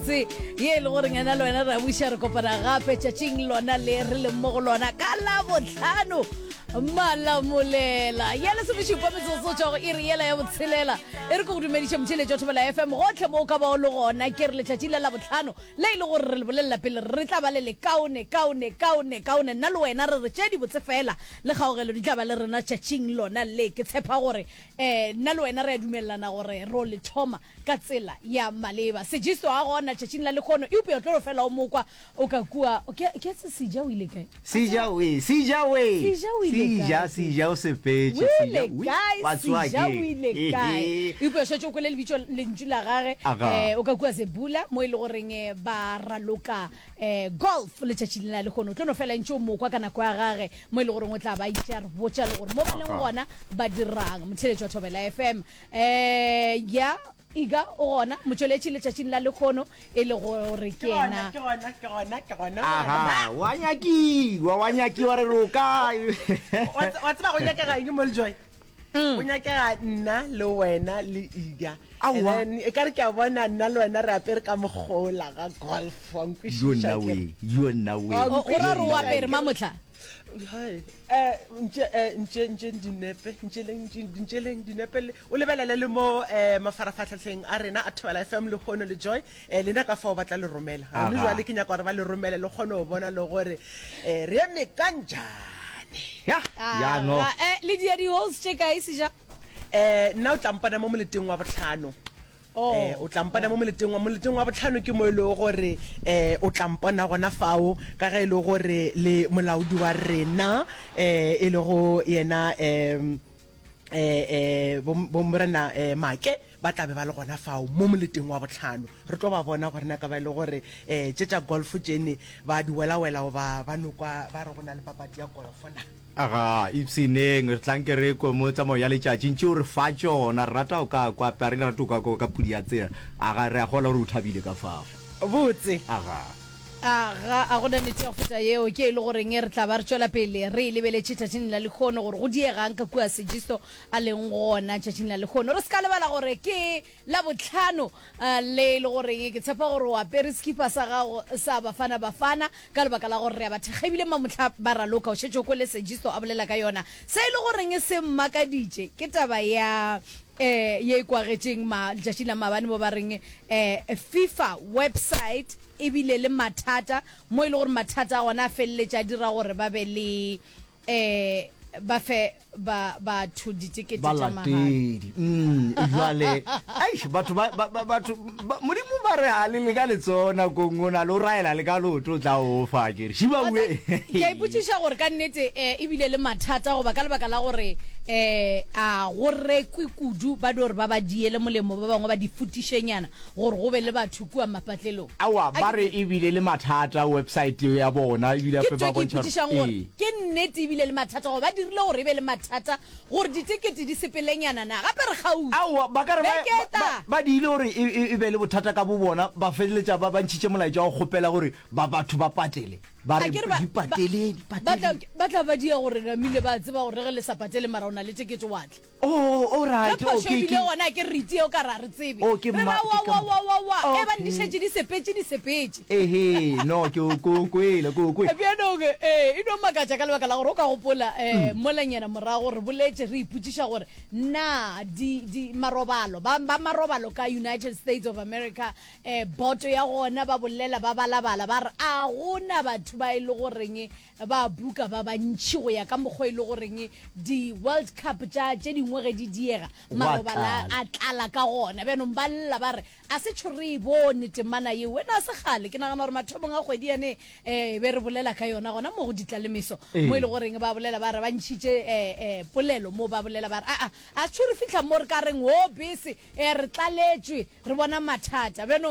botse ye e le gore ngena le wena ra buša re kopana gape tšatšing lona le re leng mo go lona ka labotlhano malamolela ya lesomešupa metsotso tšwa go iri yela ya botshelela e re ko go dumediše motšheletši wa thobela fm gotlhe mo o ka ba o le gona ke re letšatši la labotlhano le e le gore re le bolelela pele re tla ba le le kaone kaone kaone kaone nna le wena re re tše dibotse fela le kgaogelo di tla ba le rena tšatšing lona le ke tshepa gore um nna le wena re a dumelelana gore ro le thoma ka tsela ya maleba. Sejisto a gona tšatšing la lekhono, eupša o tlo no fela o mo kwa o ka kua. Ke, ke se Seja o ile kae? Seja we, Seja we. Seja o ile Seja, kae? Seja o sepetše. O Seja, ile wi, kae? wa tsoa Seja o ke. ile kae? Eupša o šetše o kwele lebitso, lentšu la gage, Aga. eh, o ka kua Zebula, mo e le goreng eh, ba raloka eh, golf letšatši la lehono. O tlo no fela ntše o mo kwa ka nako ya gage, mo e le goreng o tla ba itše a re botša le gore mo ba leng Aga. gona ba dirang. Motheeletši wa Thobela FM. Eh, ya, Iga o gona, motšweletši letšatšing la lekgono, e le gore ke Ke gona, yena. ke gona, ke gona, ke gona. Aha, wa nyakiwa, wa nyakiwa re re o kae? Wa tse- wa tseba go nyakega eng mo Lejoy? Go nyakega nna le wena le Iga. And Aowa. then e ka re ke a bona nna le wena re apere ka mogola ga golf, wa Yo nkwešiša nna ke re. we, yo nna we. Wa O, o ra re o nkwešiša apere ke re. mamohla? Hai, eh, ntše, eh, ntše, ntše dinepe, ntšeleng, ntše- ntšeleng dinepe le, o lebelele le mo eh, mafarafahlahleng a rena a Thobela FM lehono le Joy, eh, lena ka fao ba tla le romela. Gone Aga. jwale ke nyaka gore ba le romele le kgone go bona le gore eh, re eme ka njane. Ya, ya no. Aga, eh, le dia di-holes tše kae seja? Eh, nna o tla mpona mo moleteng wa bohlano. Oh. Eh, o tla mpona mo moleteng wa moleteng wa bohlano ke mo e lego gore eh, o tla mpona gona fao ka ge e le gore le molaodi wa rena eh, e lego yena eh, eh, eh, bo, bo morena eh, Make ba tla be ba le gona fao mo moleteng wa bohlano. Re tlo ba bona gore na ka ba e le gore eh, tše tša golf tšene ba di welawela goba ba no kwa ba re go na le papadi ya golf na. Aga, ipshineng, re tla nke re kwe mo tsamao ya letšatši ntše o re fa tšona. Re rata go ka kwa, a re rate go ka kwa ka pudi ya tsela. Aga, re a kgolwa gore o thabile ka fao. Botse. Aga. Aga, a go na nnete ya go feta yeo, ke e le goreng re tla ba re tšwela pele re e lebeletše tšatšing la lehono, gore go diegang ka kua Sejisto a leng gona tšatšing la lehono. Re se ka lebala gore ke Labohlano le e le goreng ke tshepa gore o apere sekipa sa gago sa Bafana Bafana ka lebaka la gore re a ba thekga ebile mamohla ba raloka. O šetše o kwele Sejisto a bolela ka yona. Se e le goreng se mmakaditše ke taba ya um ye e kwagetšeng ma letšatšing la maabane mo ba reng um FIFA website e bile le mathata mo e le gore mathata a gona a feleletše a dira gore ba be le um ba fe ba batho ditekete tša mahala. Balatedi. Mm, jwale, eish, batho ba, ba, ba, batho, ba, Modimo ba re ha le le ka letsoho nakong o na le o raela le ka leoto o tla o fa ke re. Shiba Wa we. tseba, ke a ipotšiša gore ka nnete um e bile le mathata goba ka lebaka la gore um a go rekwe kudu ba dio re ba ba diele molemo ba bangwe ba di futišenyana gore go be le batho kua mapatlelong. Aowa, A ba ke re e bile le mathata website ya bona, ebile Ke gape ntho ba e ke bontšha gore ipotšišang gore ee. ke nnete e bile le mathata goba ba dirile gore e be le mathata gore ditekete di sepelenyana na? Gape re kgauswi. Aowa, ba ka re ba, Beke e ba, tla. ba diile gore e, e, e be le bothata ka bobona, ba feleletša ba, ba ntšhitše molaetša wa go kgopela gore ba, batho ba patele. Ba re, Akere ba, di ba, patele, di ba tla, patele. ba tla ba dia gore namile ba tseba gore ge le sa patele mara o na le tekete wa tla. Oh, all right. Ge Oh, phošo ke, e bile ke. gona, ke re itie o ka re a re tsebe. Oh, ke Re ma, ra ke wa, ka wa, wa, wa, wa. E bang di Okay. šetše di sepetše, di sepetše. Ehe, no, ke o, ke o kwele, ke o kwele. Bjanong, ee, e no makatša ka lebaka la gore o ka gopola, um molanyana morago re boletše re ipotšiša gore na di, di, marobalo, ba, ba marobalo ka United States of America, um boto ya gona ba bolela ba balabala ba re a go na batho ba e le goreng Ba buka ba bantši go ya ka mokgwa e le goreng di-World Cup tša tše dingwe ge di diega, marobala a tlala ka gona. Bjanong ba lla ba re, A se tšho re e bone temana yeo. Wena a se kgale, ke nagana gore mathomong a kgwedi yane um be re bolela ka yona gona mo go Ditlalemeso, mo e le goreng ba bolela ba re ba ntšhitše um polelo mo ba bolela ba re, Aa, a se tšho re fihla mo re ka reng, Hoo bese, um re tlaletšwe, re bona mathata. Bjanong.